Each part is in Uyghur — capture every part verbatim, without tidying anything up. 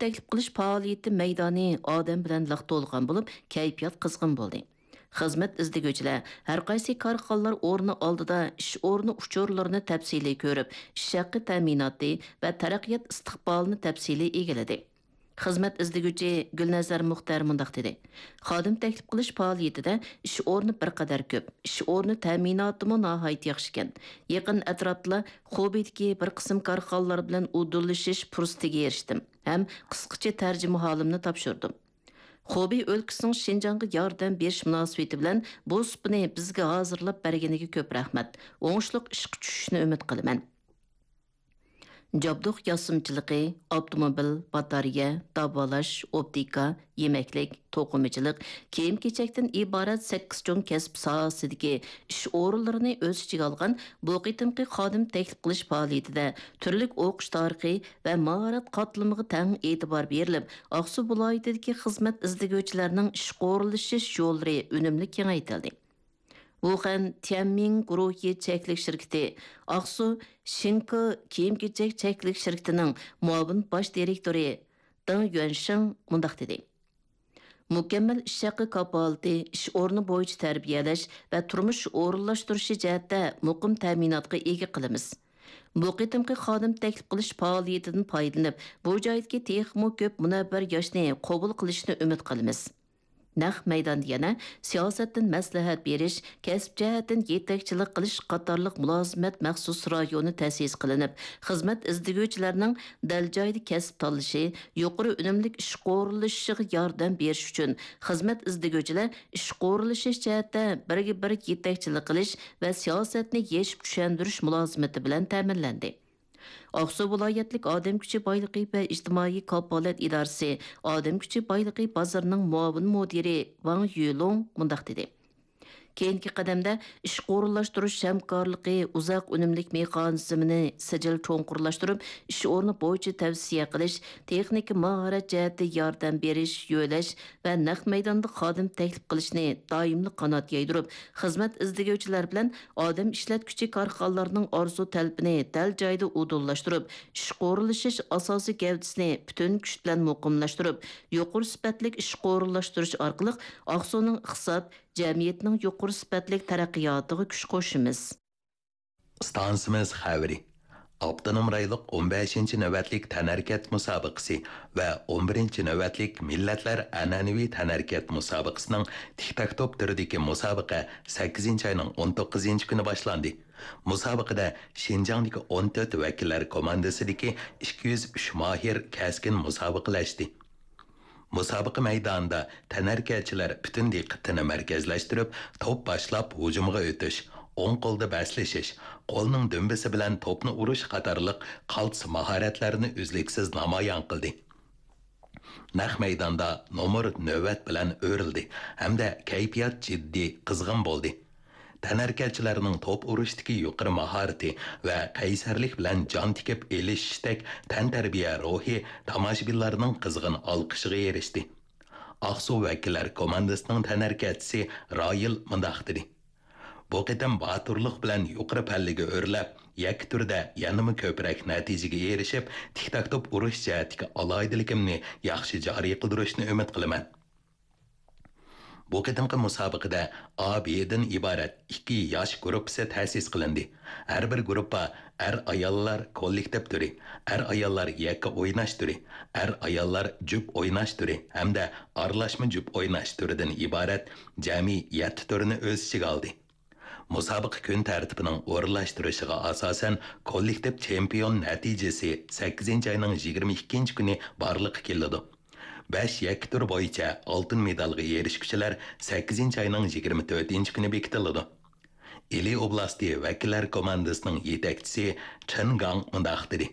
تەكلىپ قىلىش پائالىيىتى مەيدانى ئادەم بىلەن لىق تولغان بولۇپ، كەيپىيات قىزغىن بولدى. خىزمەت ئىزدىگۈچىلەر ھەر قايسى كارخانىلار ئورنى ئالدىدا ئىش ئورنى ئۇچۇرلىرىنى تەپسىلىي كۆرۈپ، ئىش ھەققى تەمىناتى ۋە تەرەققىيات ئىستىقبالىنى تەپسىلىي ئىگىلىدى. خىزمەت ئىزدىگۈچى گۈلنەزەر مۇختەر مۇنداق دېدى: خادىم تەكلىپ قىلىش پائالىيىتىدە ئىش ئورنى بىر قەدەر كۆپ، ئىش ئورنى تەمىناتىمۇ ناھايىتى ياخشىكەن. يېقىن ئەتراپتىلا خۇبېيدىكى بىر قىسىم كارخانىلار بىلەن ئۇدۇللىشىش پۇرسىتىگە ئېرىشتىم ھەم قىسقىچە تەرجىمىھالىمنى تاپشۇردۇم. خۇبېي ئۆلكىسىنىڭ شىنجاڭغا ياردەم بېرىش مۇناسىۋىتى بىلەن بۇ سۇپىنى بىزگە ھازىرلاپ بەرگىنىگە كۆپ رەھمەت. ئوڭۇشلۇق ئىشقا چۈشۈشىنى ئۈمىد قىلىمەن. جابدۇق ياسىمىچىلىقى، ئاپتوموبىل، باتارېيە، داۋالاش، ئوپتىكا، يېمەكلىك، توقۇمىچىلىق، كىيىم-كېچەكتىن ئىبارەت سەككىز چوڭ كەسىپ ساھەسىدىكى ئىش ئورۇنلىرىنى ئۆز ئىچىگە ئالغان بۇ قېتىمقى خادىم تەكلىپ قىلىش پائالىيىتىدە تۈرلۈك ئوقۇش تارىخى ۋە ماھارەت قاتلىمىغا تەڭ ئېتىبار بېرىلىپ، ئاقسۇ ۋىلايىتىدىكى خىزمەت ئىزدىگۈچىلەرنىڭ ئىشقا ئورۇنلىشىش يوللىرى ئۈنۈملۈك كېڭەيتىلدى. ۋۇخەن تيەنمىڭ گۇرۇھى چەكلىك شىركىتى ئاقسۇ شىنكو كىيىم-كېچەك چەكلىك شىركىتىنىڭ مۇئاۋىن باش دىرېكتورى دېڭ يۈەنشىڭ مۇنداق دېدى: مۇكەممەل ئىش ھەققى كاپالىتى، ئىش ئورنى بويىچە تەربىيەلەش ۋە تۇرمۇش ئورۇنلاشتۇرۇشى جەھەتتە مۇقىم تەمىناتقا ئىگە قىلىمىز. بۇ قېتىمقى خادىم تەكلىپ قىلىش پائالىيىتىدىن پايدىلىنىپ، بۇ جايدىكى تېخىمۇ كۆپ مۇنەۋۋەر ياشنى قوبۇل قىلىشنى ئۈمىد قىلىمىز. نەق مەيداندا يەنە سىياسەتتىن مەسلىھەت بېرىش، كەسىپ جەھەتتىن يېتەكچىلىك قىلىش قاتارلىق مۇلازىمەت مەخسۇس رايونى تەسىس قىلىنىپ، خىزمەت ئىزدىگۈچىلەرنىڭ دەل جايىدا كەسىپ تاللىشى، يۇقىرى ئۈنۈملۈك ئىشقا ئورۇنلىشىشىغا ياردەم بېرىش ئۈچۈن خىزمەت ئىزدىگۈچىلەر ئىشقا ئورۇنلىشىش جەھەتتە بىرگە بىر يېتەكچىلىك قىلىش ۋە سىياسەتنى يېشىپ چۈشەندۈرۈش مۇلازىمىتى بىلەن تەمىنلەندى. ئاقسۇ ۋىلايەتلىك ئادەم كۈچى بايلىقى ۋە ئىجتىمائىي كاپالەت ئىدارىسى ئادەم كۈچى بايلىقى بازىرىنىڭ مۇئاۋىن مۇدىرى ۋاڭ يۈلۇڭ مۇنداق دېدى: كېيىنكى قەدەمدە ئىشقا ئورۇنلاشتۇرۇش ھەمكارلىقى، ئۇزاق ئۈنۈملۈك مېخانىزمىنى سىجىل چوڭقۇرلاشتۇرۇپ، ئىش ئورنى بويىچە تەۋسىيە قىلىش، تېخنىكا ماھارەت جەھەتتە ياردەم بېرىش، يۆلەش ۋە نەق مەيداندا خادىم تەكلىپ قىلىشنى دائىملىق قانات يايدۇرۇپ، خىزمەت ئىزدىگۈچىلەر بىلەن ئادەم ئىشلەتكۈچى كارخانىلارنىڭ ئارزۇ تەلىپىنى دەل جايىدا ئۇدۇللاشتۇرۇپ، ئىشقا ئورۇنلىشىش ئاساسىي گەۋدىسىنى پۈتۈن كۈچ بىلەن مۇقىملاشتۇرۇپ، يۇقىرى سۈپەتلىك ئىشقا ئورۇنلاشتۇرۇش ئارقىلىق ئاقسۇنىڭ ئىقتىساد، جەمئىيەتنىڭ يۇقىرى سۈپەتلىك تەرەققىياتىغا كۈچ قوشىمىز. ئىستانسىمىز خەۋىرى. ئاپتونوم رايونلۇق ئون بەشىنچى نۆۋەتلىك تەنھەرىكەت مۇسابىقىسى ۋە ئون بىرىنچى نۆۋەتلىك مىللەتلەر ئەنئەنىۋى تەنھەرىكەت مۇسابىقىسىنىڭ تىك تاك توپ تۈرىدىكى مۇسابىقە سەككىزىنچى ئاينىڭ ئون توققۇزىنچى كۈنى باشلاندى. مۇسابىقىدە شىنجاڭدىكى ئون تۆت ۋەكىللەر كوماندىسىدىكى ئىككى يۈز ئۈچ ماھىر كەسكىن مۇسابىقىلەشتى. مۇسابىقە مەيدانىدا تەنھەرىكەتچىلەر پۈتۈن دىققىتىنى مەركەزلەشتۈرۈپ، توپ باشلاپ ھۇجۇمغا ئۆتۈش، ئوڭ قولدا بەسلىشىش، قولنىڭ دۈمبىسى بىلەن توپنى ئۇرۇش قاتارلىق قالتىس ماھارەتلەرنى ئۈزلۈكسىز نامايان قىلدى. نەق مەيداندا نومۇر نۆۋەت بىلەن ئۆرۈلدى ھەمدە كەيپىيات جىددىي قىزغىن بولدى. تەنھەرىكەتچىلەرنىڭ توپ ئۇرۇشتىكى يۇقىرى ماھارىتى ۋە قەيسەرلىك بىلەن جان تىكىپ ئېلىشىشتەك تەنتەربىيە روھى تاماشىبىنلارنىڭ قىزغىن ئالقىشىغا ئېرىشتى. ئاقسۇ ۋەكىللەر كوماندىسىنىڭ تەنھەرىكەتچىسى رايىل مۇنداق دېدى: بۇ قېتىم باتۇرلۇق بىلەن يۇقىرى پەللىگە ئۆرلەپ، يەككە تۈردە يەنىمۇ كۆپرەك نەتىجىگە ئېرىشىپ، تىك تاك توپ ئۇرۇش جەھەتتىكى ئالاھىدىلىكىمنى ياخشى جارى قىلدۇرۇشنى ئۈمىد قىلىمەن. بۇ قېتىمقى مۇسابىقىدە ئا، بىدىن ئىبارەت ئىككى ياش گۇرۇپپىسى تەسىس قىلىندى. ھەر بىر گۇرۇپپا ئەر-ئاياللار كوللېكتىپ تۈرى، ئەر-ئاياللار يەككە ئويناش تۈرى، ئەر-ئاياللار جۈپ ئويناش تۈرى ھەمدە ئارىلاشما جۈپ ئويناش تۈرىدىن ئىبارەت جەمئىي يەتتە تۈرنى ئۆز ئىچىگە ئالدى. مۇسابىقە كۈن تەرتىپىنىڭ ئورۇنلاشتۇرۇشىغا ئاساسەن، كوللېكتىپ چېمپىيون نەتىجىسى سەككىزىنچى ئاينىڭ يىگىرمە ئىككىنچى كۈنى بارلىققا كېلىدۇ. بەش يەككە تۈر بويىچە ئالتۇن مېدالغا ئېرىشكۈچىلەر سەككىزىنچى ئاينىڭ يىگىرمە تۆتىنچى كۈنى بېكىتىلىدۇ. ئىلى ئوبلاستى ۋەكىللەر كوماندىسىنىڭ يېتەكچىسى چېن گاڭ مۇنداق دېدى: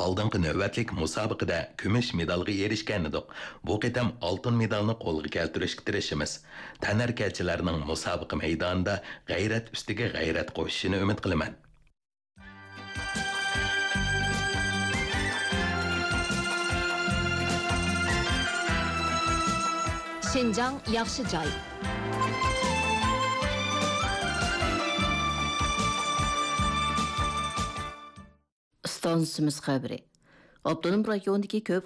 ئالدىنقى نۆۋەتلىك مۇسابىقىدە كۈمۈش مېدالغا ئېرىشكەنىدۇق. بۇ قېتىم ئالتۇن مېدالنى قولغا كەلتۈرۈشكە تىرىشىمىز. تەنھەرىكەتچىلەرنىڭ مۇسابىقە مەيدانىدا غەيرەت ئۈستىگە غەيرەت قوشۇشىنى ئۈمىد قىلىمەن. شىنجاڭ ياخشى جاي. ئىستانسىمىز خەۋىرى. ئاپتونوم رايوندىكى كۆپ